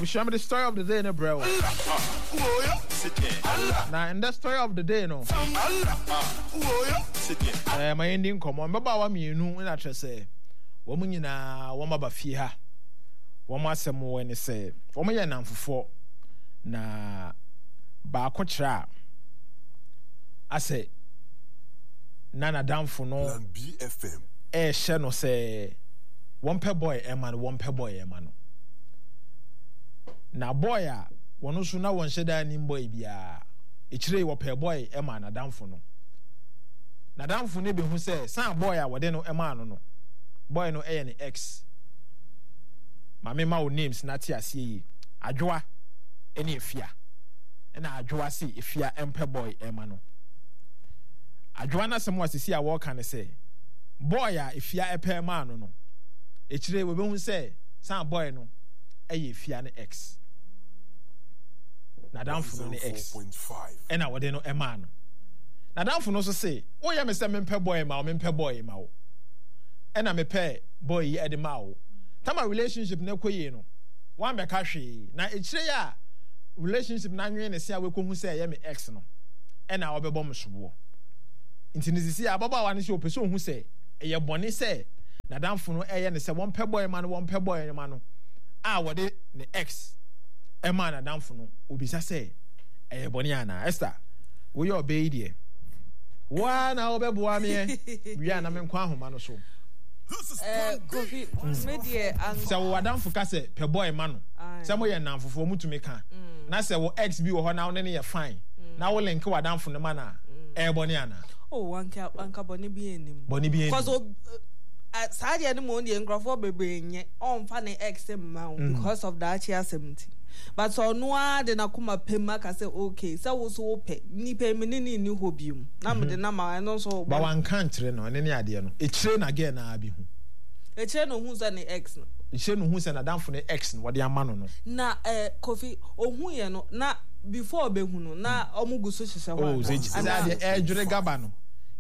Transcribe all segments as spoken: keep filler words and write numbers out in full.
Abusua, mede story of the day no brɛ wo. Na ndɛ story of the day no, ɛɛ ma yɛndi nkɔmmɔ. Mmabaawa mmienu na kyerɛ sɛ wɔn nyinaa wɔn aba fie ha. Wɔn asɛm wɔ ne sɛ wɔn yɛ nnamfofoɔ na baako kyerɛ a asɛ na n'adamfo no ɛrehyɛ no sɛ wɔmpɛ boy ɛma no, wɔmpɛ boy ɛma no. Na boy a wɔn nso na wɔnhyɛ da nnim boy biara. Akyire yi wɔpɛɛ boy ɛmaa n'adamfo no. N'adamfo no bɛhu sɛ san boy a wɔde no ɛmaa no no, boy no ɛyɛ ne ex. Ma me ma wo names na te aseɛ yie. Adwoa ɛne Afia. Ɛna Adwoa se Afia ɛmpɛ boy ɛma no. Adwoa n'asɛm a sisi a wɔreka ne sɛ boy a Afia ɛpɛ maa no no, akyire yi wɔbɛhu sɛ san boy no ɛyɛ Afia ne ex. N'adamfo no ne ex ɛna wɔde no ɛmaa no. N'adamfo no nso se, woyɛ me sɛ mempɛ boy ma wo, mempɛ boy ma wo. Ɛna mepɛ boy yi ɛde maa wo. Tama relationship no ɛkɔ yie no, woambɛka hwee. Na akyire yi a relationship no anwene ne se a woakɔhu sɛ ɛyɛ me ex no, ɛna ɔbɛbɔ me soboɔ. Nti no sisi a ababaawa no sɛ ɔpɛ sɛ ɔhu sɛ ɛyɛ bɔne sɛ n'adamfo no ɛyɛ no sɛ wɔmpɛ boy ma no, wɔmpɛ boy ma no a wɔde ne ex ɛmaa n'adamfo no, ɔbisa sɛ ɛyɛ bɔne anaa? Esther, woyɛ ɔbaa yi deɛ, wo ara na wobɛboa meɛ wie a na menkɔ ahoma no so. Eh, Kofi, me deɛ anka. Sɛ wo adamfo ka sɛ pɛ boy ma no, sɛ moyɛ nnamfofoɔ motumi ka, na sɛ wo ex bi wɔ hɔ na wo ne no yɛ fine, na wo link w'adamfo no ma no a, ɛyɛ bɔne anaa? Oh, anka anka bɔne bi nnim. Bɔne bi nnim. Cause ob, uh, saa deɛ no mu deɛ nkurɔfoɔ bebree nyɛ, ɔmfa ne ex mma wo mm. because of daakye asɛm nti. But sɛ ɔno ara de n'akoma pɛ mu aka sɛ okay, sɛ wo so wopɛ, nipa yi me ne ne nni hɔ biom, na mede mm-hmm. nama ɛno nso. Ba wanka nkyerɛ no, ɛne ne adeɛ no. Ekyire na girl no ara bi hu. Ekyire na ohun sɛ ne ex no. Ekyire na ohun sɛ n'adamfo no ex no wɔde ama no no. Na eh, Kofi, ohun yɛ no, na before ɔbɛhu no, na ɔmo gu so hyehyɛ hɔ oh, anaa? Sɛ adeɛ ɛredwere gaba no,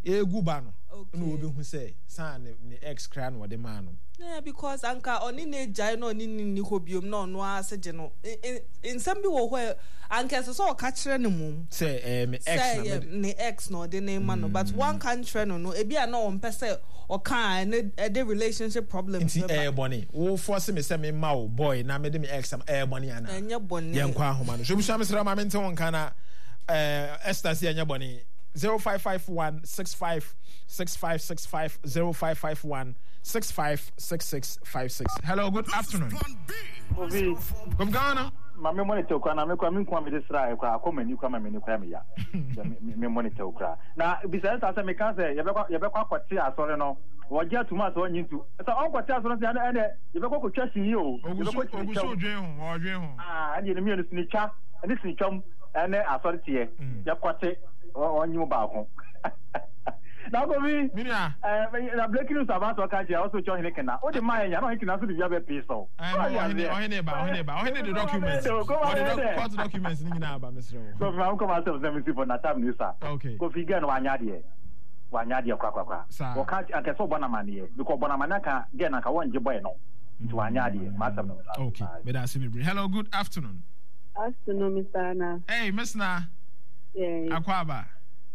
egu ba no, ɛna ɔbɛhu sɛ saa ne ne ex koraa na ɔde maa no. Yeah, because anka ɔne no agyae na ɔne no nni hɔ biom na ɔno ara se gye no. Nsɛm bi wɔ hɔ a anka ɛsɛ sɛ ɔka kyerɛ no mmom. Sɛ ɛyɛ me ex na mede. Sɛ ɛyɛ ne ex na ɔde no rema no but wanka nkyerɛ no no ebi a na ɔmpɛ sɛ ɔka a ɛne ɛde relationship problems bɛba. Nti ɛyɛ bɔne? Wo force me sɛ me mma wo boy na mede me ex ama ɛyɛ bɔne anaa? Ɛnyɛ bɔne. Yɛnkɔ ahoma no so. Abusua mesrɛ wo ma mente wo nka na eh, Esther se ɛnyɛ bɔne. Zero five five one six five six five six five zero five five one six five six six five six. Hello, good afternoon. Obi. Kofi Ghana. Ma me monitor kura na me kura me nkuma me de sra kura akɔ m'ani kura ma m'ani kura me ya. Me me monitor kura. Na bisa ɛsa sɛ meka sɛ yɛbɛkɔ yɛbɛkɔ akɔte asɔre no. Wɔgye atum a sɛ ɔnye ntu. Sɛ ɔnkɔte asɔre no sɛ ɛnɛ ɛnɛ yɛbɛkɔ kɔtwa sini o. Yɛbɛkɔ sini twam. Ogusu dwen ho, ɔdwen ho. Ah, ɛnde ne mmienu sini twa ɛne sini twam ɛne asɔre teɛ. Yɛkɔte ɔnye mu baako. Na Kofi, eh, na breaking news aba sɛ ɔka kyerɛ ɔsɛ ɔkyɛ ɔhene kena. Wode maa yɛn nya na ɔhene kena nso de bi abɛpee so. Ɔhene ɔhene ba ɔhene ba ɔhene de documents ɔde court documents ne nyinaa aba mesrɛ wo. Kofi ma nkɔm asɛm sɛ mesi for natam ne sa. Okay. Kofi girl no wanya adeɛ. Wanya adeɛ kora kora kora. Wɔka anka sɛ ɔbɔ n'amaneɛ because ɔbɔ n'amaneɛ anka girl no anka wɔngye boy no. Nti wanya adeɛ. M'asɛm no. Okay. Meda ase bebree. Hello, good afternoon. Afternoon, Mister Anna. Hey, Miss Na. Yeah. Akwaaba.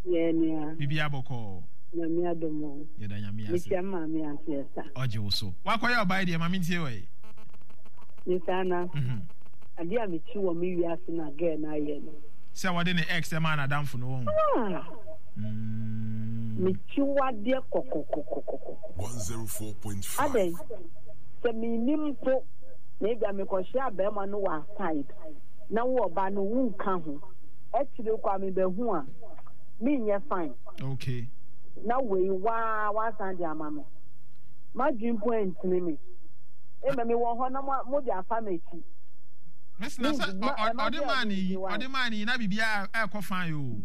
Yeah, nua. Bibi abɔkɔɔ. Nyame adom o. Yɛda Nyame ase. Mekyia maame ante ɛsa. Ɔgye wo so. Wakɔyɛ ɔbaa yi deɛ ma mentie wɔ yi. Mister Anna. Mhm. Adeɛ a mekyi wɔ me wiase na girl no ayɛ no. Sɛ wɔde ne ex ɛmaa n'adamfo no wɔn. Ah. Mm. Mekyi wadeɛ kɔkɔkɔkɔkɔ. One zero four point five. Adɛn? Sɛ mennim mpo na ebia mekɔhyia barima no wɔ aside na wo ɔba no wonka ho. Akyire kɔ a mebɛhu a menyɛ fine. Okay. Na wei waa wasan de ama me. M'adwene mpo antini me. Ema mewɔ hɔ na mo de afa m'akyi. Miss na sɛ ɔde maa ne yi ɔde maa ne yi na biribiara ɛkɔ fine o.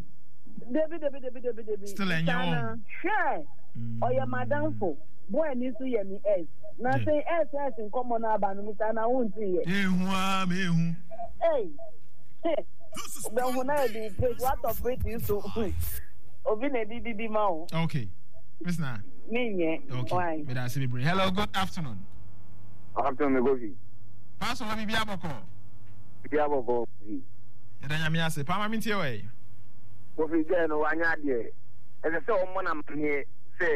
Debi debi debi debi debi. Still ɛnyɛ wɔn. Hwɛ ɔyɛ m'adamfo. Boy ni nso yɛ me ex. Na sɛ ex ex nkɔmɔ no aba no Mister na wonte yɛ. Ehu aa mehu. Ei. Wobɛhu na yɛde plate watɔ plate so obi na ɛde didi ma wo. Okay. Miss Na. Menyɛ. Okay. Why? Meda ase bebree. Hello, good afternoon. Afternoon, Kofi. Pastor, wɔ biribi abɔkɔ. Bi abɔbɔ bi. Yɛda Nyame ase. Paa ma mentie wɔ yi. Kofi gɛɛ no wanyɛ adeɛ. Ɛsɛ sɛ ɔmmɔ no amaneɛ sɛ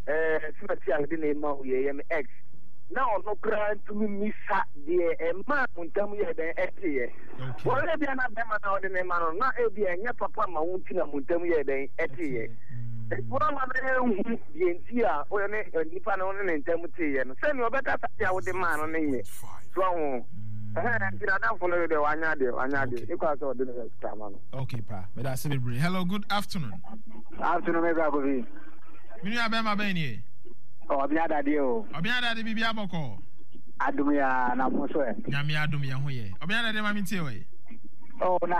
ɛɛ simati a mede no rema wo yi ɛyɛ me ex. Na ɔno koraa ntumi mmisa deɛ ɛmaa mo ntam yɛɛ dɛn ɛteeɛ. Wɔn ebia na bɛrima no a ɔde no rema no na ebia ɛnyɛ papa ma wo nti na mo ntam yɛɛ dɛn ɛteeɛ. Nti woama no anhu deɛ nti a wo ne nipa no ne ne ntam teeɛ no sɛnea ɔbɛka saa deɛ a wode maa no no nyɛ. So ahu? Ɛhɛn nti n'adamfo no deɛ wanyɛ adeɛ wanyɛ adeɛ ne kwan sɛ ɔde ne sika ama no. Okay pa meda ase bebree. Hello, good afternoon. Afternoon, me bra Kofi. Me nua bɛrima bɛn nie? Ɔbea dadeɛ o. Ɔbea dadeɛ biribi abɔkɔ. Adom ya na mo so ɛ. Nyame adom yɛn ho yɛ. Ɔbea dadeɛ ma me ntie wɔ yi. Oh na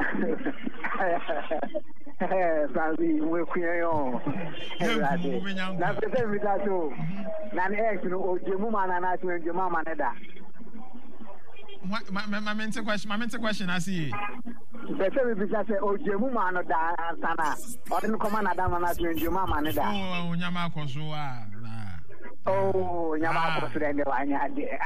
Francis mo ekuya yɛn o. Ɛwurade. Na pɛ sɛ mita so. Na ne ex no ogye mu ma na na so ngye mu ama ne da. Ma ma me nte question ma me nte question ase yie. Pɛ sɛ mebisa sɛ ogye mu ma no da ansa na ɔde no kɔma n'adamfo na so ngye mu ama ne da. Oh onyama akɔ so a. Oh nyama akɔ so dɛ ndɛ wanyɛ adeɛ.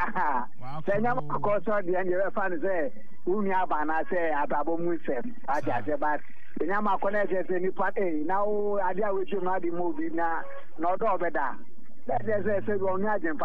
Sɛ nyama akɔ so deɛ ndɛ bɛfa no sɛ wo nua aba anaasɛ abrabɔ mu nsɛm wate aseɛ but sɛ nyama akɔ na ɛkyerɛ sɛ nipa ei na wo adeɛ a woatwam no ade ma obi na na ɔdɔ ɔbɛda na ɛkyerɛ sɛ sɛ ɔno adwempa